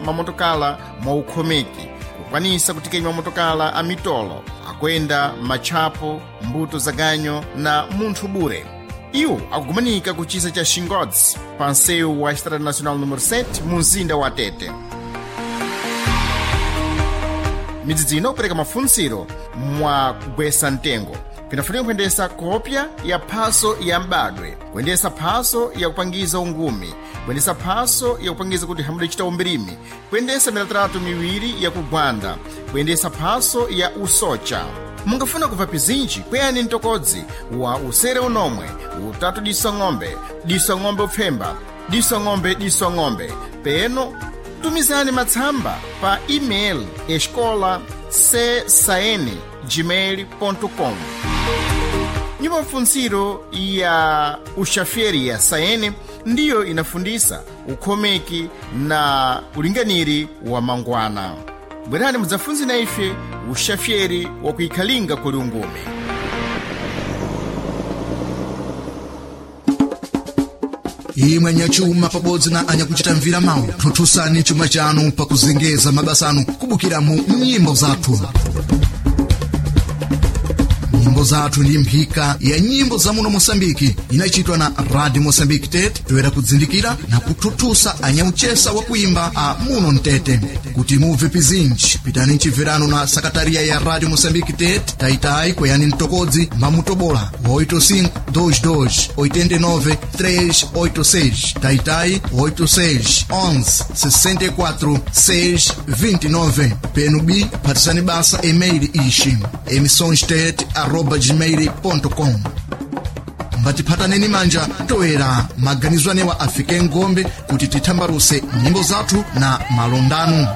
Mamotokala mwa ukhomeki kukwanisa kutikenya mamotokala a mitolo akuyenda matchapo, mbuto za ganyo na munthu bure. Iwo akugumanika ku chisa cha Xingodzi pa nsewu wa Estrada Nacional número 7 mu mzinda wa Tete. Midzidzi ino kupereka mafunsiro mwa kugwesa mtengo. Pinafunika kuyendesa kopya ya phaso ya m'badwe, kuyendesa phaso ya kupangiza ungumi, kuyendesa phaso ya kupangiza kuti hamude chita umbirimi, kuyendesa milatratu miwiri ya kugwanda, kuyendesa phaso ya usocha. Mungafuna kubva pizinji, kweyani mtokodzi wa usere unomwe utatu diso ng'ombe diso ng'ombe upfemba diso ng'ombe diso ng'ombe. Peno tumizani matsamba pa e-mail escola csaen gmail.com. Nyumba mfunziro ya uxaferi ya saene ndiyo inafundisa ukhomeki na ulinganiri wa mangwana. Bwerani mudzafunze na ife uxaferi wa kuikhalinga kuli ungumi. Imwe anyachuma pabodzi na anyakuchita mvira mawu, thuthusani chuma chanu pakuzengeza mabasa anu kubukira mu nyimbo zathu. Nyimbo zathu ndi mphika ya nyimbo za muno Mosambiki inachitwa na Radio Mosambiki Tete, toyera kudzindikira na kuthuthusa anyauchesa wa kuimba a muno mtete. Kuti mubve pizinji, pitani mchibverano na sakataria ya Radio Mosambiki Tete, taitayi kweyani mtokodzi mamutobola 85 22 89 386, taitayi 86 11 64 6 29. Penu b phatisani basa email ixi emissõestete@gmail.com. Mbatiphataneni manja toera maganizo anewa afike ngombe kuti tithambaruse nyimbo zathu na malondano.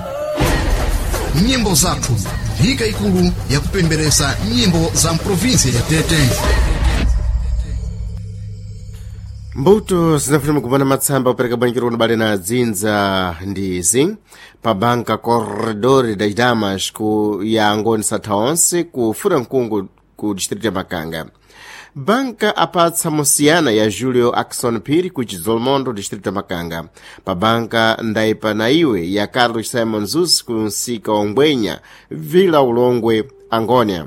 Nyimbo zathu, mphika ikulu yakupemberesa nyimbo za mprovinsi ya Tete. Mbuto zinafuna kupana matsamba kupereka bwanikiro kunabale na dzinza ndizi pa banka Corredor das Damas ku ya Angoni Satha onse ku Furankungu ku distrito ya Makanga. Banka apatsa musiyana ya Julio Axon Phiri ku Chidzolomondo, distrito ya Makanga. Pa banka Ndaipa na iwe ya Carlos Simon Zus ku msika wa Ngwenya, Vila Ulongwe, Angônia.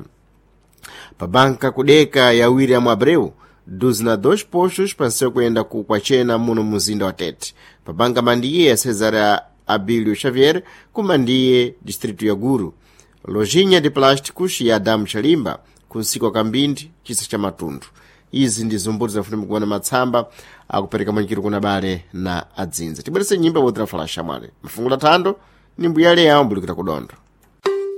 Pa banka kudeka ya William Abreu 12 postos pansewu kuyenda ku Kwachena muno muzinda wa Tete. Pa banka Mandiye ya Cesar Abílio Xavier ku Mandiye, distrito ya Guru. Lojinha de Plásticos ya Adamu Chalimba ku msika wa Kambindi, chisa cha Matundu. Izi ndi zumbuto zafuna kuona matsamba akupereka mwanikiro kuna bale na adzinza. Tibwerese nyimba wotra falasha mwale. Mfungula thando ni mbuyale yawo mbulikira kudondo.